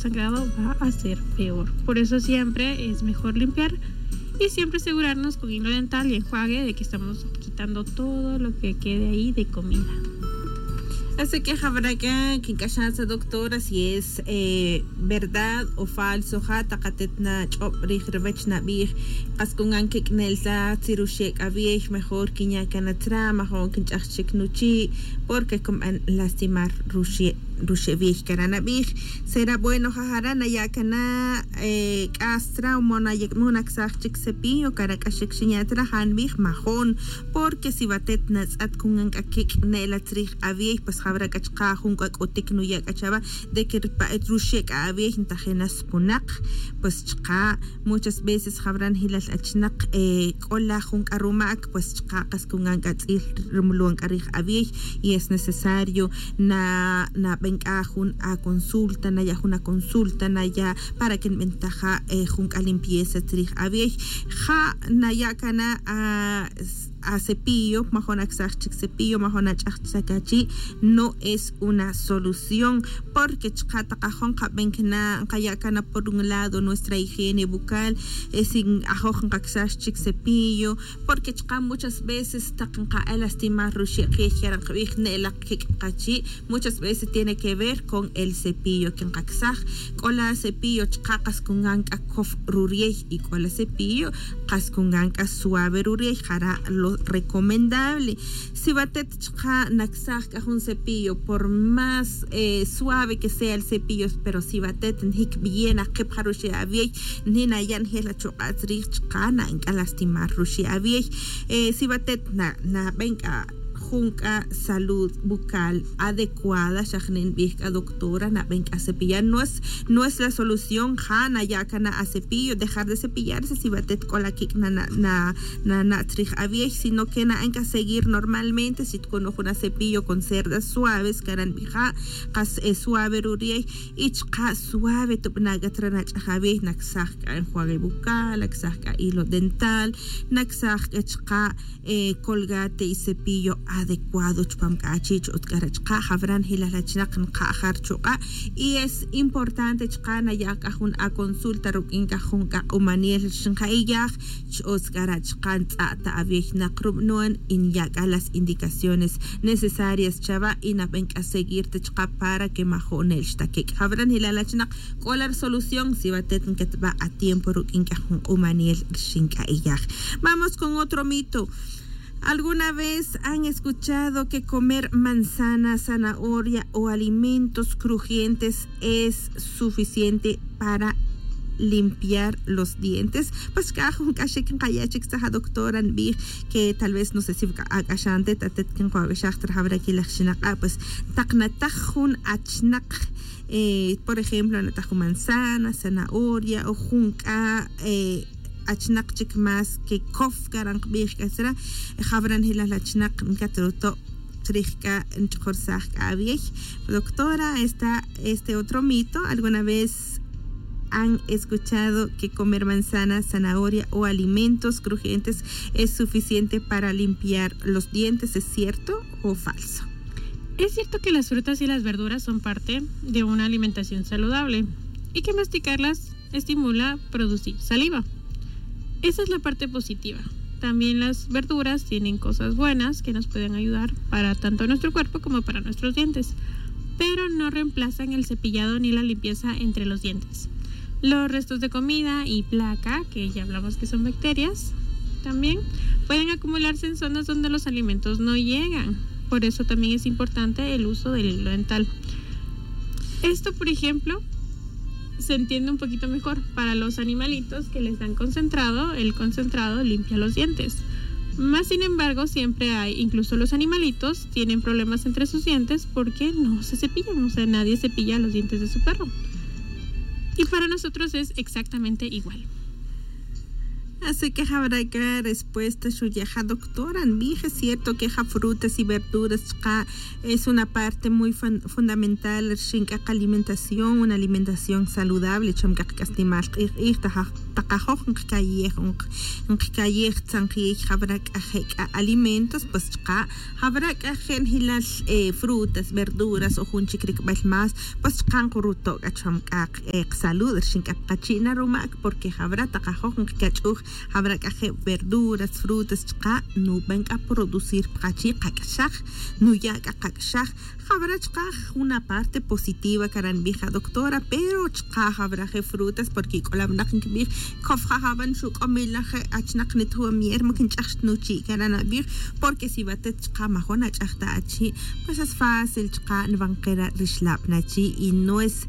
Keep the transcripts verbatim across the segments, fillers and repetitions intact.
sangrado va a ser peor. Por eso siempre es mejor limpiar y siempre asegurarnos con hilo dental y enjuague de que estamos quitando todo lo que quede ahí de comida. Así que jawara' k'a kink'axan sa doctora si es eh, verdad o falso ja taq atet nach'ob rij ruwech nabij, qas kun kan kik'nel ta tzi ruxe' k'a wi'y, mejor kinya' kan atzra, majo'n kinch'aj chik nuchi', porque kunban lastimar ruxe' ruxe' wi'y kara' nabij. Será bueno jajara' naya' kana' eh, k'as tra o mo naksaj chik cepillo kara' k'axik xinya' tra, ja nbij majo'n, porque si watet natz'at kun kan k'a kik'nel atz rij awi'y, pues jawara' k'a chqa' jun k'a k'utik nuya' k'a chawa de que rpa'et ruxe' k'a awi'y ntajin na spunak. Pues chqa' muchas veces jawara' njilal achnaq eh, k'ola jun k'a rumak, pues chqa' qas kun kan k'a tz'il rumulon k'a rij awi'y, y es necesario na naben k'a jun aconsulta, naya' jun aconsulta naya' para que nbentaja eh, jun k'a limpieza atz rij awi'y. Ja naya' kana' a acepillo, majo'n aksaj chik cepillo, majo'n ach'aj chik achi', no es una solución, porque chqa' taq ajo' nqaben kana' nqaya' kana' por un lado nuestra higiene bucal, eh, si ajoj nqaksaj chik cepillo, porque chqa' muchas veces taq nqalastimar ruxe' q'ij kara' nqbij ne'lak kik' qachi', muchas veces tiene que ver con el cepillo que nqaksaj. K'ola cepillo chqa' qas kun kan k'a kof ruri'y, y k'ola cepillo qas kun kan k'a suave ruri'y, jara' lo recomendable. Si watet chqa' naksaj k'a jun cepillo, por más eh, suave que sea el cepillo, pero si watet njik b'iye' naqip ja ruxe' awi'y, nina ya' njel achuq'a' atz rij chqa' naben k'a lastimar ruxe' awi'y. Eh, si watet na naben k'a jun k'a salud bucal adecuada, xa jni' nbij k'a doctora, naben k'a cepillar. No es, no es la solución ja naya' kana' acepillo, dejar de cepillarse si watet k'ola kik' na na na na atz rij awi'y, sino que naben k'a seguir normalmente. Si tkunuj jun acepillo con cerdas suaves kara' nbija', qas eh, suave ruri'y, y chqa' suave tubana' k'a tra nach'aj awi'y, naksaj k'a enjuague bucal, naksaj k'a hilo dental, naksaj k'a chqa' eh, colgate y cepillo adecuado chupam k'a achi', ch'ut k'a ra' chqa'. Jawara' njilal achnaq nqaja ruchuq'a', y es importante chqa' naya' k'a jun aconsulta ruk'in k'a jun k'a q'umanel xnqa'iyaj, ch'ut k'a ra' chqa' ntz'a' ta awi'y naq rub'non, y nya' k'a las indicaciones necesarias chawa, y naben k'a seguir ta chqa' para que majo'n ne'l xta kik'. Jawara' njilal achnaq k'ola resolución si watet nketba' a tiempo ruk'in k'a jun q'umanel rxin k'a iyaj. Vamos con otro mito. ¿Alguna vez han escuchado que comer manzana, zanahoria o alimentos crujientes es suficiente para limpiar los dientes? Pues k'a jun k'axik nqaya' chik tzaj a doctora nbij que tal vez no sé si ak'axan tet atet que nqawak'axaj ta rajawra kilaj xinaq'a', pues taq nataj jun achnaq eh, por ejemplo nataj jun manzana, zanahoria o jun k'a eh, achnaq chik más que kof kara' nqbij k'a sra', jawara' njilal achnaq nkat ruto' chrij k'a nch'ojorsaj k'a awi'y. Doctora, está este otro mito. ¿Alguna vez han escuchado que comer manzana, zanahoria o alimentos crujientes es suficiente para limpiar los dientes? ¿Es cierto o falso? Es cierto que las frutas y las verduras son parte de una alimentación saludable y que masticarlas estimula producir saliva. Esa es la parte positiva. También las verduras tienen cosas buenas que nos pueden ayudar para tanto nuestro cuerpo como para nuestros dientes, pero no reemplazan el cepillado ni la limpieza entre los dientes. Los restos de comida y placa, que ya hablamos que son bacterias, también pueden acumularse en zonas donde los alimentos no llegan. Por eso también es importante el uso del hilo dental. Esto, por ejemplo, se entiende un poquito mejor para los animalitos que les dan concentrado, el concentrado limpia los dientes. Más sin embargo, siempre hay, incluso los animalitos tienen problemas entre sus dientes porque no se cepillan, o sea, nadie cepilla los dientes de su perro. Y para nosotros es exactamente igual. Así que jawara' k'a respuesta xuya' ja doctora nbij, es cierto que ja frutas y verduras chqa' es una parte muy fundamental rxin k'a qalimentación, una alimentación saludable cham k'a qak'asnimal q'ij q'ij ta ja Taqajoj nqkayej o nqkayej tzanjiy jab'ra' k'a je' k'a alimentos pues chqa' jab'ra' k'a je' njilal frutas, verduras o jun chik rikb'al más, pues chqa' nqruto' k'a chpam k'a qsalud rxin k'a pqachi' na rumak, porque jab'ra' taqajoj nqkach'uj jab'ra' k'a je' verduras, frutas chqa' nub'an k'a producir pqachi' qak'xaj, nuya' k'a qak'xaj. Jab'ra' chqa' jun aparte positiva kara' nb'ij adoctora, pero chqa' jab'ra' je' frutas porque k'ola winaq nkib'ij, kofja' jab'a' nxuk'omila je' achnaq nituwamier ma kinch'aj xtnuchi' kara' nab'ij, porque si watet chqa' majo' nach'aj ta achi', pues es fácil chqa' nwan qera' rixlab' nachi', y no es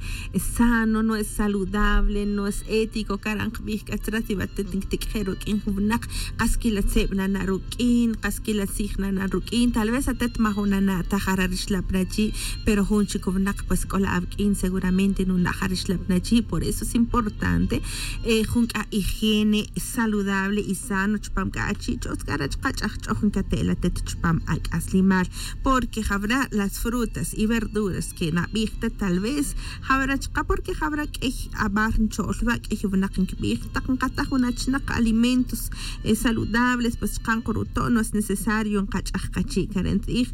sano, no es saludable, no es ético kara' nqb'ij k'a tzra. Si watet nkitik'je' ruk'in jun winaq, qas kila tzeb' nana' ruk'in, qas kila tzij nana' ruk'in, tal vez atet majo' nana' ta jara' rixlab' nachi', pero jun chik winaq pues k'ola awk'in seguramente nuna' ja rixlab' nachi'. Por eso es importante jun k'a higiene saludable y sano chpam k'a achi', ch'o'tz k'ara' chqa' ch'ajch'oj nkate' la atet chpam ak'aslimal, porque jab'ra' las frutas y verduras que nab'ij ta tal vez jab'ra' chqa', porque jab'ra' k'ey abar ncho'l wa', k'ey winaq nkib'ij taq nqataj jun achnaq alimentos saludables pues chqa' nqruto', no es necesario nqach'aj qachi' kara' ntz'ij.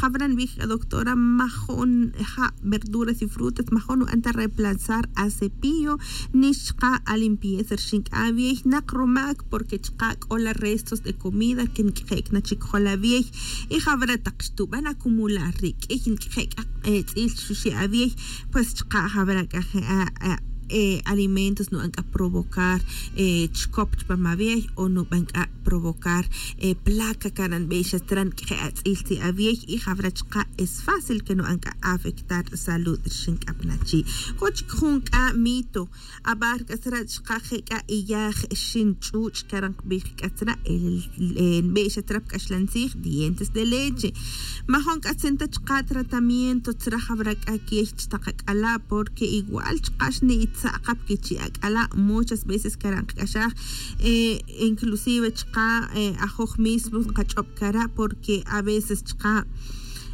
Jab'ra' nb'ij k'a doctora, majo' nja' verduras y frutas majo' nu'an ta reemplazar a cepillo, nix chqa' a limpieza rxin k'a awiey naq rumak, porque chqa' k'ola restos de comida que nk'je' k'a na chik jol awiey. Y jab'ra' taq xtub'an acumular ri k'ey nk'je' k'a tz'il xuxe' awiey, pues chqa' jab'ra' k'a je' alimentos nu'an k'a provocar chkop chpam awiey o nub'an k'a provocar placa kara' nb'ey xa tzra, nk'je' atz'il tz'i' awiey, y jab'ra' chqa' es fácil que nu'an k'a afectar salud rxin k'a pnachi'. K'o chik jun k'a mito, abar k'a tzra' chqa' je' k'a iyaj xin ch'uch' kara' nqb'ij k'a tzra', nb'ey xa tzra' pk'axlan tzij dientes de leche. Majo' nk'atzin ta chqa' tratamiento tzra' jab'ra' k'a kiey chi taq ak'ala', porque igual chqa' xni'itza' qa pkichi' ak'ala', muchas veces kara' nqk'axaj inclusive chqa' ajoj mismo nqach'ob' kara', porque a veces chqa'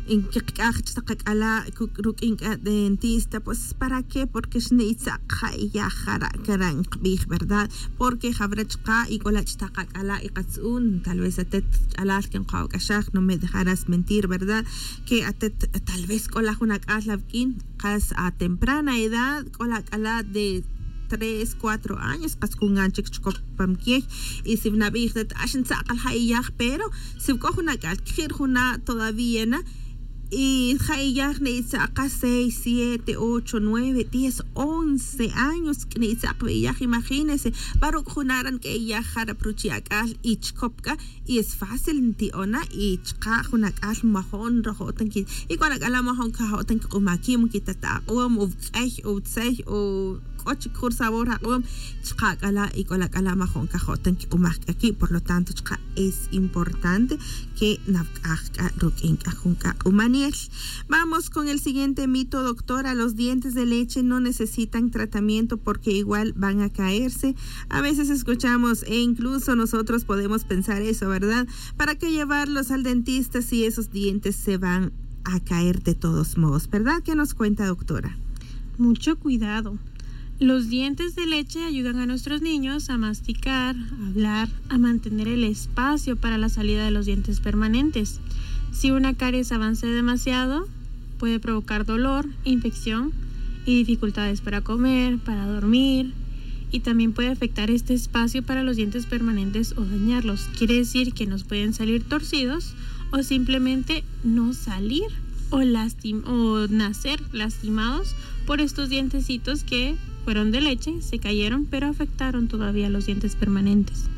nkiqk'aj chi taq ak'ala' ruk'in k'a dentista, pues para qué? Porque xni'itza' qa iyaj jara' kara' nqb'ij, ¿verdad? Porque jab'ra' chqa' y k'ola' chi taq ak'ala' y qatz un, tal vez atet ch'alal que nqajo' k'axaj, no me dejarás mentir, ¿verdad? Que atet tal vez k'ola' jun ak'al awk'in qas a temprana edad k'ola' ak'ala' de tres, cuatro años qas kungan chik chkop pam kiey. Y si nab'ij atet ax ntzaq' la ja' iyaj, pero si k'o jun ak'al kji' ri juna' todavía na, y ja' iyaj ni'itza' qa seis, siete, ocho, nueve, diez, once años ni'itza' qa wi iyaj, imagínese. Pa ruuk' juna' ra' nk'e iyaj jara' pa ruchi' ak'al y chkop k'a, y es fácil nti'on na, y chqa' jun ak'al majo' nrajo' ta nki, y k'o jun ak'ala' majo' nkajo' ta nkiq'uma' kiib', nkita ta aq'om o wuk'ey o wutzey o k'o chik jun rsabor aq'om, chqa' ak'ala' y k'o la ak'ala' majo' nkajo' ta nkiq'umaj k'a kiib'. Por lo tanto chqa' es importante que nawuk'aj k'a ruk'in k'a jun k'a q'umanel. Vamos con el siguiente mito, doctora. Los dientes de leche no necesitan tratamiento porque igual van a caerse. A veces escuchamos, e incluso nosotros podemos pensar eso, ¿verdad? ¿Para qué llevarlos al dentista si esos dientes se van a caer de todos modos? ¿Verdad? ¿Qué nos cuenta, doctora? Mucho cuidado. Los dientes de leche ayudan a nuestros niños a masticar, a hablar, a mantener el espacio para la salida de los dientes permanentes. Si una caries avanza demasiado, puede provocar dolor, infección y dificultades para comer, para dormir, y también puede afectar este espacio para los dientes permanentes o dañarlos. Quiere decir que nos pueden salir torcidos o simplemente no salir o lastim-, o nacer lastimados por estos dientecitos que fueron de leche, se cayeron, pero afectaron todavía los dientes permanentes.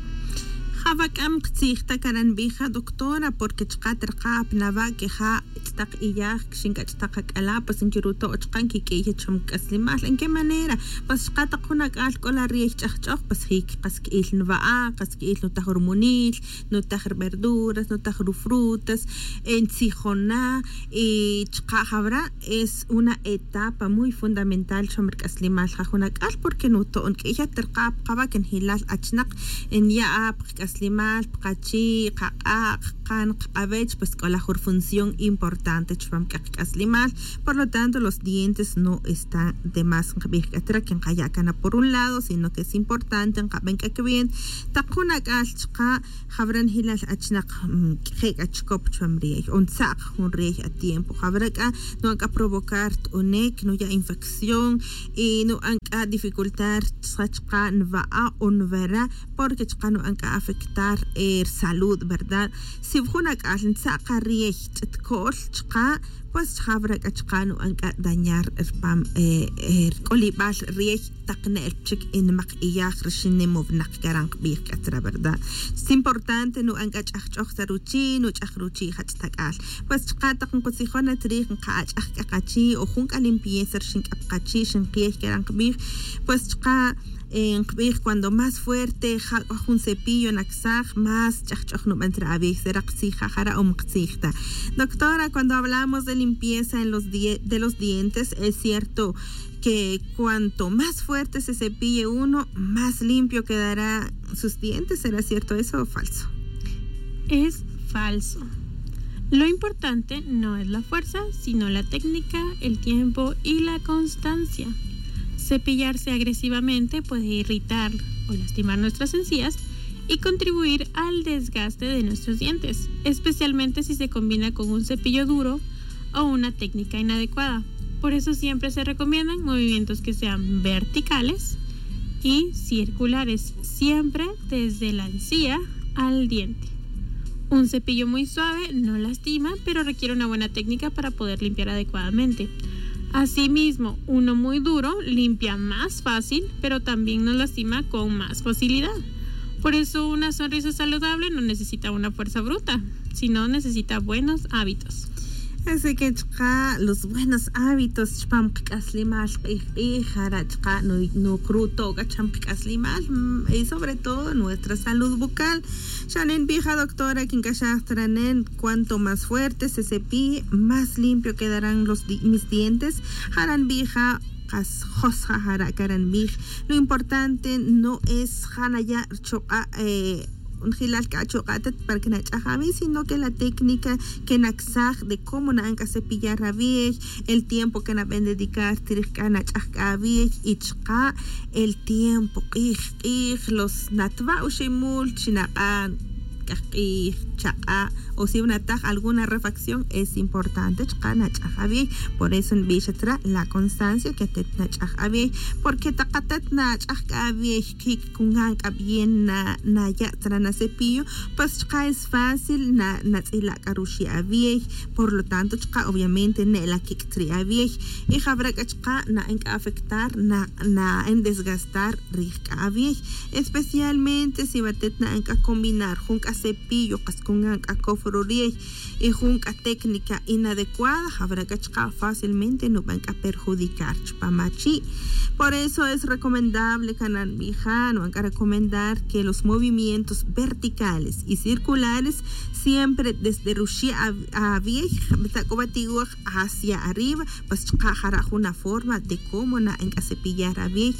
Jawak'am qtzij ta kara' nb'ija, doctora, porque chqa' tirqa' apnawa' que ja' chi taq iyaj, kixin k'a chi taq ak'ala', pues nkiruto' chqa' nkik'iy cham k'aslimal. ¿En qué manera? Pues chqa' taq jun ak'al k'o la riey ch'ajch'oj, pues jic qas ki'il nwa'a, qas ki'il nutaj rumunil, nutaj ruverduras, nutaj rufrutas, ntzijona, y chqa' jawra' es una etapa muy fundamental cham rik'aslimal ja jun ak'al, porque nuto'on k'iy ya tirqa' pa qawa' que njilal achnaq nya'ab qak'aslimal pa qachi' qaq'a' qaqan qaq'awech pues k'ola jun rufunción importante chupam k'a qak'aslimal. Por lo tanto los dientes no están de más nqabij k'a tzra que nqaya' cana por un lado sino que es importante nqaben k'a kawent taq jun ak'al chaqa' jawra nijilal achnaq je' k'a chikop chupam riyey o ntza'q jun riyey a tiempo jawra k'a nu'an k'a provocar t'unek nuya' infección y nu'an k'a dificultar chaqa' nwa'a o nwara porque chaqa' nu'an k'a afectar rusalud verdad. Si wujun ak'al ntza'q ariyey ch'it ko'l chaqa' pues chaqa' wara k'a chaqa' nu'an k'a dañar rupam rk'olibal riyey taq ne'el chik inmaq iyaj rixin nim o winaq kara' nqbij k'a tzra verdad. Importante nu'an k'a ch'ajch'oj sa ruchi' nuch'aj ruchi' jach tak'al pues chaqa' taq nqutzijon na chrij nqa'ach'aj k'a qachi' o jun k'a limpieza rixin k'a pa qachi' xinqiyey kara' nqbij pues chaqa' nqbij cuando más fuerte ja' k'a jun cepillo naksaj más ch'ajch'oj nuban tzra awiy seraq tzij ja' jara' o mqtzij ta. Doctora, cuando hablamos de limpieza en los die- de los dientes es cierto que cuanto más fuerte se cepille uno más limpio quedará sus dientes. ¿Será cierto eso o falso? Es falso. Lo importante no es la fuerza, sino la técnica, el tiempo y la constancia. Cepillarse agresivamente puede irritar o lastimar nuestras encías y contribuir al desgaste de nuestros dientes, especialmente si se combina con un cepillo duro o una técnica inadecuada. Por eso siempre se recomiendan movimientos que sean verticales y circulares, siempre desde la encía al diente. Un cepillo muy suave no lastima, pero requiere una buena técnica para poder limpiar adecuadamente. Asimismo, uno muy duro limpia más fácil, pero también nos lastima con más facilidad. Por eso una sonrisa saludable no necesita una fuerza bruta, sino necesita buenos hábitos. Así que chaqa' los buenos hábitos chupam qak'aslimal q'ij q'ij jara' chaqa' nuqru' to' k'a chupam qak'aslimal y sobre todo nuestra salud bucal. Xa nin nbij a doctora kin k'axaj ta ra nen cuanto más fuerte se cepille más limpio quedarán los mis dientes. Jara' nbij a qas jos ja' jara' kara' nbij. Lo importante no es ja' naya' rchuq'a' njelal k'a achuq'a' atet para que nach'aj awiy sino que la técnica que naksaj de cómo na'an k'a cepillar awiy, el tiempo que naben dedicar tirij k'a nach'aj k'a awiy y chaqa' el tiempo q'ij q'ij los natwa' oximul chi naq'a' k'aj q'ij chaq'a' o si wanataj alguna refacción es importante chaqa' nach'aj awiy. Por eso nbix atzra la constancia que atet nach'aj awiy porque taq atet nach'aj k'a awiy kik' kungan k'a bien naya' tzra na cepillo pues chaqa' es fácil natz'ila' k'a ruxi' awiy. Por lo tanto chaqa' obviamente ne'la kik' tzri' awiy y jawra k'a chaqa' na'an k'a afectar na'an desgastar rij k'a awiy. Especialmente si watet na'an k'a combinar jun k'a cepillo qas kungan k'a kof rurey y jun k'a técnica inadecuada jawra k'a chaqa' fácilmente nuban k'a perjudicar chupam achi'. Por eso es recomendable kana' nbija' nuban k'a recomendar que los movimientos verticales y circulares siempre desde ruxi' awiy ta k'o wa tiwaj hacia arriba pues chaqa' jara' jun aforma de cómo na'an k'a cepillar awiy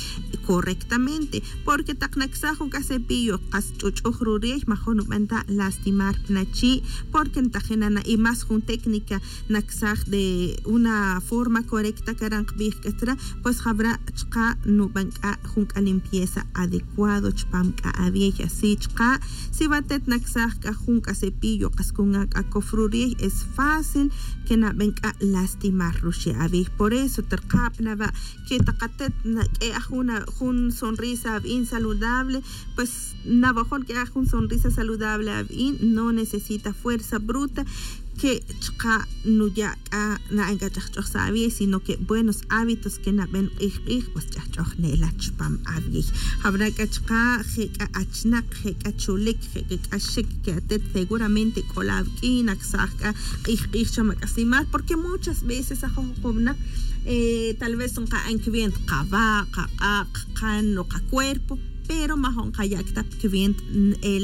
correctamente. Porque taq naksaj jun k'a cepillo qas ch'uch'uj rurey majun nuban ta lastimar pa nachi' porque ntajin na na y más jun técnica naksaj de una forma correcta kara' nqbij k'a tzra' pues jawra' chaqa' nuban k'a jun k'a limpieza adecuado chupam k'a awiy. Así chaqa' si watet naksaj k'a jun k'a cepillo qas kungan k'a kof rurey es fácil que naben k'a lastimar ruxi' awiy. Por eso tirkab nawa' que taq atet naq'ue'aj jun sonrisa awi'in saludable pues nawajon q'ue'aj jun sonrisa saludable awi'in no necesita fuerza bruta que chaqa' nuya' k'a na'an k'a ch'ajch'oj sa' awi'y sino que buenos hábitos que naben q'ij q'ij pues ch'ajch'oj ne'la chupam awi'y. Jawra' k'a chaqa' je' k'a achnak je' k'a chulik je' k'a k'axik que atet seguramente k'ola awik'in naksaj k'a q'ij q'ij chupam ak'aslimal porque muchas veces ajoj juq'ub' naq tal vez nqa'an kiwent qawa' qaq'a' qaqan o qacuerpo pero majo' nqaya' k'a ta pa kiwent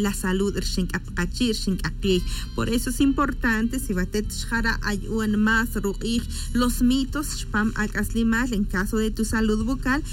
la salud rixin k'a pa qachi' rixin k'a qiy. Por eso es importante si watet xjara' ayu'an más ruq'ij los mitos chupam ak'aslimal en caso de tu salud bucal.